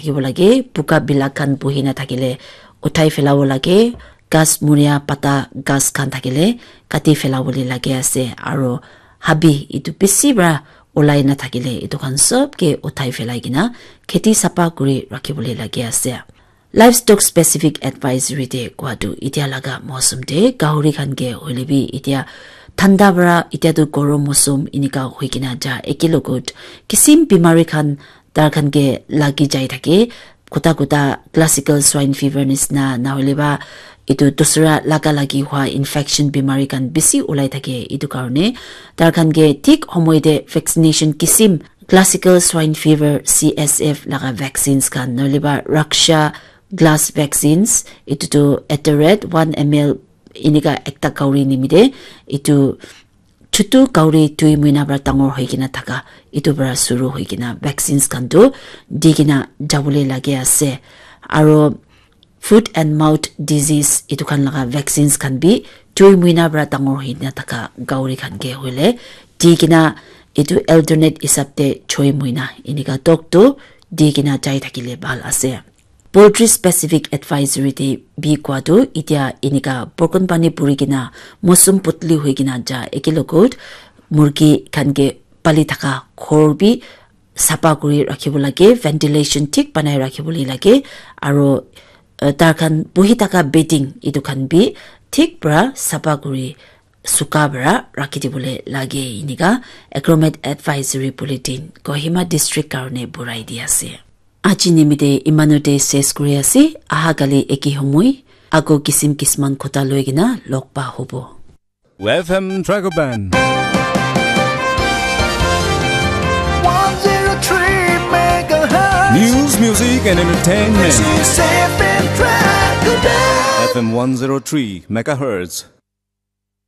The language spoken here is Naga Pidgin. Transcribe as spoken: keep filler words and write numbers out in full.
Rakhibo lage, buka bilak khan buhi na thakile uthai phelabo lage, ghas muria pata ghas khan thakile kati phelabole lage ase, aro habi etu bishi para ulai na thakile etu khan sob ke uthai phelai kena kheti sapha kuri rakhibole lage ase. Livestock specific advisory te kowa tu etia laga mousum te gahuri khan ke hoile bi etia thanda para etia tu gorom mousum enika hoi kena ja eke logot kisim bimari khan tar khan ke lagi jai thake, kuta kuta classical swine fever nisna, na hoile ba etu dusra laga lagi hua infection bimari khan bishi ulai thake. Etu karone tar khan ke thik homoi te vaccination kisim classical swine fever, C S F laga vaccines khan, na hoile ba Raksha glass vaccines, etu tu at the rate one M L enika ekta gahuri nimite etu chutu gahuri dui muina para dangor hoi kena thaka, etu para suru hoi kena vaccines khan tu di kena jabole lage ase. Aro foot and mouth disease etu khan laga vaccines khan bi dui muina para dangor hoi kena thaka gahuri khan ke hoile di kena etu alternate hisab te choi muina enika tok tu di kena jai thakile bhal ase. Poultry specific advisory te bi kowa tu etia enika borkon pani puri kena mousum potli hoi kena ja eke logot murgi khan ke pali thaka ghor bi sapha kuri rakhibo lage, ventilation thik banai rakhibole lage, aro uh, tar khan buhi thaka bedding etu khan bi thik para sapha kuri suka para rakhi dibole lage enika Agromet Advisory Bulletin Kohima District karone burai di ase. Aji nimite imanu te ses kuri ase, aha kali eki homoi, ako kisim kisman kota loi kena log pa hobo. F M Dragon Band. One zero three megahertz. News, music, and entertainment. This is F M Dragon Band. F M one zero three megahertz.